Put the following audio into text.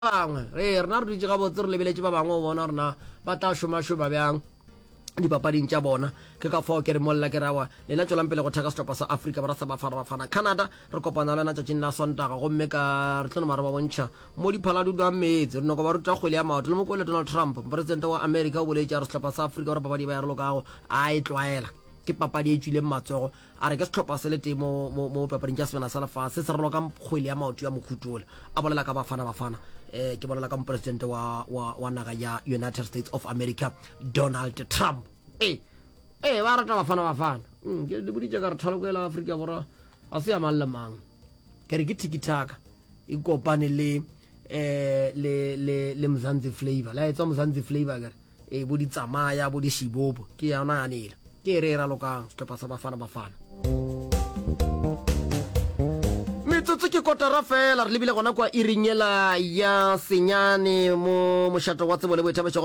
Bangwe. Ee, rena re dutše gabotse re lebeletše ba bangwe go bona gore na ba tla šomašoma bjang dipapading tša bona. Ke ka fao ke re molla ke re awa, lena tšwelang pele go theka sehlopha sa Afrika Borwa sa Bafana Bafana. Canada, re kopana le yona tšatšing la Sontaga gomme ka re tlo nama re ba bontšha mo diphala di dwang meetse. Re nyoko ba ruta kgwele ya maoto. Le mo kwele Donald Trump, mopresidente wa Amerika o boletše a re sehlopha sa Afrika Borwa papadi e ba e ralokago a e tlwaela. Ke papadi e tšwileng matsogo. A re ke sehlopha se le tee mo, mo, mo papading tša Sebjana sa Lefase se se raloka kgwele ya maoto ya mohuta ola. A bolela ka Bafana Bafana, eh, ke bolela ka mopresidente wa, wa, wa naga ya United States of America, Donald Trump. Ee, ee, ba rata Bafana Bafana. Mm, ke le boditše ka re thaloko ela Afrika Borwa ga se ya mang le mang. Ke re ke tiki-taka e kopane le eh le le le Mzansi Flavor. La etswa Mzansi Flavor ke re. Ee, bo di tsamaya, bo di šibobo, ke yona yanela. Ke e re e ralokang, sehlopha sa Bafana Bafana. Metsotso ke kotara fela, re lebile gona kwa iring yela ya senyane mo mošato wa tsebo le boithabišo.